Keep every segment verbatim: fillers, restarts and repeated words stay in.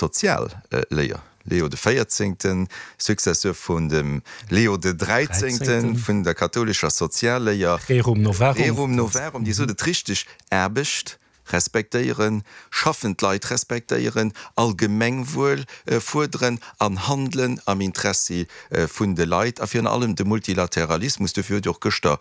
Sozialléier. Leo de Véierzéngten, Successeur vun dem Leo de Dräizéngten, vun der kathoulescher Sozialléier. Rerum novarum. Rerum novarum, déi sot et richteg, Aarbecht respektéieren, schaffend Leit respektéieren, Allgemengwuel fuerderen an handelen am Interessi vun de Leit a virun allem de Multilateralismus. Dofir huet jo och gëschter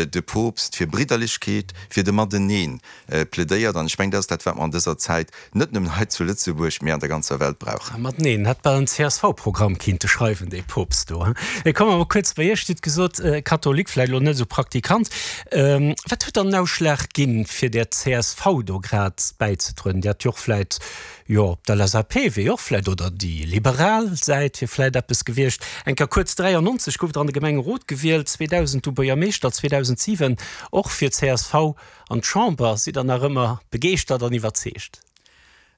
de Poopst fir Bridderlechkeet, fir de Mateneen plädéiert. An ech mengen, dat ass dat, wat mer an dëser Zäit net nëmmen hei zu Lëtzebuerg, mee an der ganzer Welt brauchen. Mateneen, hätt bal en C S V-Programm kinnte schreiwen, dee Poopst do. Mee komme mer kuerz bei Iech. Dir hutt gesot, Katholik, vläicht elo net esou Praktikant. Wat huet dann den Ausschlag ginn, fir der C S V do grad bäizetrueden? Dir hätt jo och vläicht, jo, op d'L S A P wier jo och vläicht, oder déi liberal Säit wier vläicht eppes gewiescht. Eng Kéier kuerz, dräiannonzeg gouft Der an de Gemengerot gewielt, zweedausend du Buergermeeschter, zweedausendsiwen och fir d'C S V an d'Chamber. Sidd Der nach ëmmer begeeschtert an iwwerzeegt?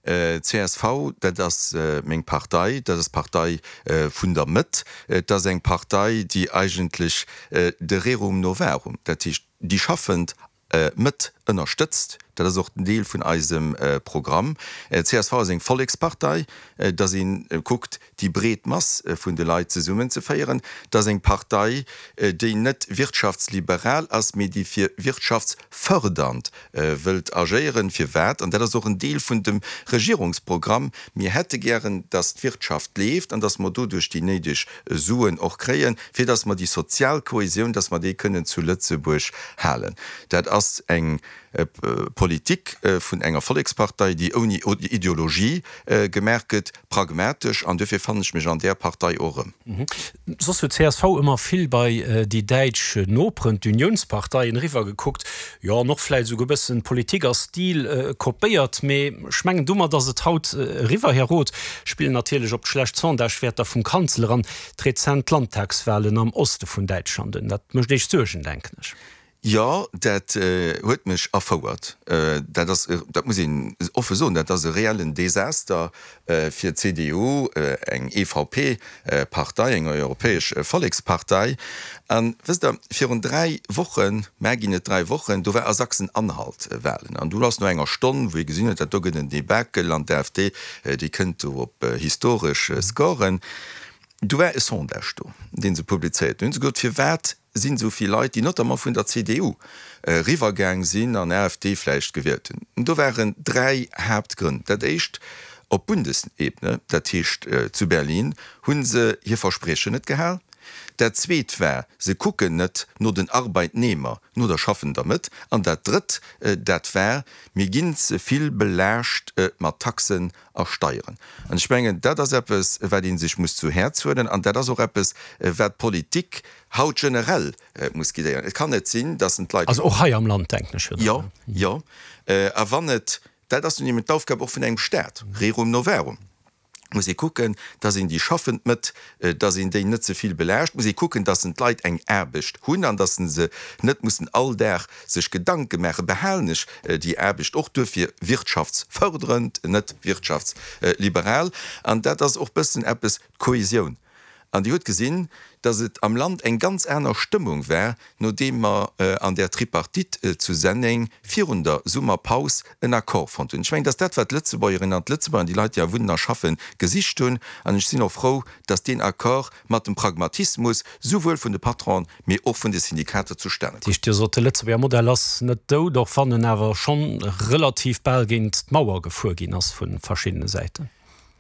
C S V, dat ass meng Partei, dat ass d'Partei vun der Mëtt. Et ass eng Partei, déi eigentlech de Rerum novarum, dat heescht déi schaffend Mëtt ënnerstëtzt. Dat ass och en Deel vun eisem Programm. C S V ass eng Vollekspartei, dass ee kuckt, déi breet Mass vun de Leit zesummenzeféieren. Et ass eng Partei, déi net wirtschaftsliberal ass, mee déi fir wirtschaftsfördernd wëllt agéieren. Firwat? An dat ass och en Deel vun dem Regierungsprogramm, Mir hätte gären, dass d'Wirtschaft leeft an dass mer doduerch déi néideg Suen och kréien, fir dass mer déi sozial Kohesioun, dass mer déi kënnen zu Lëtzebuerg halen. Dat ass eng Politik vun enger Vollekspartei, déi ouni Ideologie gemaach gëtt, pragmatesch, an duerfir fannen ech mech an där Partei och erëm. Soss huet C S V ëmmer vill bei déi däitsch Noperen, d'Unionsparteien, eriwwer gekuckt, jo, an och vläicht esouguer e bëssen Politik a Stil kopéiert, mee ech mengen domat ass et haut eriwwer. Här Roth, spillen natierlech op d'schlecht Sondagewäerter vum Kanzler an d'rezent Landtagswahlen am Oste vun Däitschland un. Dat mécht Iech Suergen, denken ech. Jo, dat huet mech erfouert. Dat ass, dat muss een offe soen, dat ass e reellen Desaster fir d'C D U, eng E V P-Partei, eng Europäesch Vollekspartei. An wësst Der, virun dräi Wochen, mä ginn et dräi Wochen, do war a Sachsen-Anhalt Wahlen. An do ass no enger Stonn, wou ee gesinn huet, dat do gëtt en Debakel an d'A F D, déi kënnt do op historesch Scoren, do war e Sondage do, dee se publizéiert hunn. Hu se gesot, firwat sinn esou vill Leit, déi notamment vun der C D U eriwwergaang sinn an A F D vläicht gewielt hunn. Do waren dräi Haaptgrënn. Dat éischt, op Bundesebene, dat heescht zu Berlin, hu se hir Verspriechen net gehal. Dat zweet war, se kucken net no den Arbeitnehmer, no der schaffender Mëtt. An dat drëtt, dat war, mir ginn ze vill belaascht mat Taxen a Steieren. An ech mengen, dat ass eppes, wat ee sech muss zu Häerz huelen, an dat ass och eppes, wat d'Politik haut generell muss guidéieren. Et kann net sinn, dass en d'Leit. Also och hei am Land, denken ech, oder? Jo, jo. A wann et, dat ass nun eben d'Aufgab och vun engem Staat, rerum novarum, muss ee kucken, dass een déi schaffend Mëtt, dass een déi net ze vill belaascht, muss ee kucken, dass en d'Leit eng Aarbecht hunn an dass se net mussen all Dag sech Gedanke maachen, behalen ech déi Aarbecht, och duerfir wirtschaftsfördernd, net wirtschaftsliberal. An dat ass och bëssen eppes d'Kohesioun. An Dir hutt gesinn, dass et am Land eng ganz aner Stëmmung war, nodeem mer an där Tripartite zu Senneng virun der Summerpaus en Accord fonnt hunn. Ech mengen, dass dat, wat d'Lëtzebuergerinnen an d'Lëtzebuerger an déi Leit, déi hei wunnen a schaffen, gesicht hunn. An ech sinn och frou, dass deen Accord mat dem Pragmatismus souwuel vun de Patronen, mee och vun de Syndikater zustane koum. Dat heescht, Dir sot, de Lëtzebuerger Modell ass net dout, och wann en awer schonn relativ bal géint d'Mauer gefuer ginn ass vu verschiddene Säiten.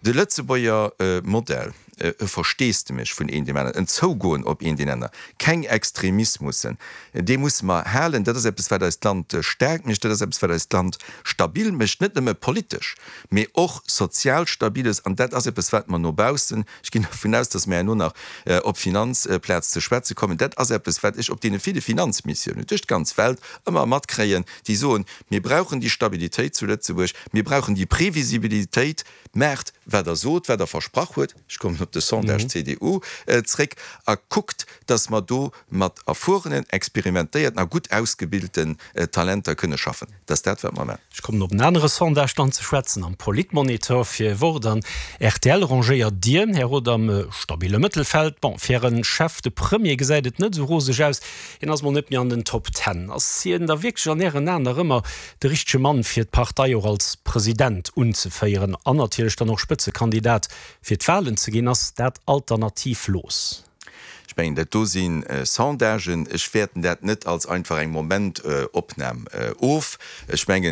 De Lëtzebuerger Modell, e Versteesdemech vun een deem aneren, en Zougoen op een deen aner, keng Extremismussen, dee musse mer halen. Dat ass eppes, wat eist Land staark mécht, dat ass eppes, wat eist Land stabil mécht, net nëmme politesch, mee och sozial stabil ass. An dat ass eppes, wat mer no baussen, ech ginn dervun aus, dass mer herno nach op d'Finanzplaz ze schwätze kommen, dat ass eppes, wat ech op deene ville Finanzmissiounen duerch d'ganz Welt ëmmer matkréien, déi soen, Mir brauchen déi Stabilitéit zu Lëtzebuerg, mir brauchen déi Previsibilitéit, Maacht, wat Der sot, wat Der versprach huet, ech kommen op op de Sondage C D U zréck, a kuckt, dass mer do mat erfuerenen, experimentéierten a gutt ausgebilten Talenter kënne schaffen. Dat ass dat, wat mer maachen. Ech kommen op en anere Sondage dann ze schwätzen, am Politmonitor fir Wort an R T L rangéiert Dir, Här Roth, am stabile Mëttelfeld. Bon, fir Äre Chef, de Premier, gesäit et net esou roseg aus, hien ass mol net méi an den Top Ten. Ass hien da wierklech an Ären Aen nach ëmmer de richtege Mann fir d'Partei och als President unzeféieren an natierlech dann och Spëtzekandidat fir d'Wahlen ze ginn? Ass dat alternativlos? Ech mengen, dat do si Sondagen. Ech wäerten dat net als einfach eng Momentopnam of. Ech mengen,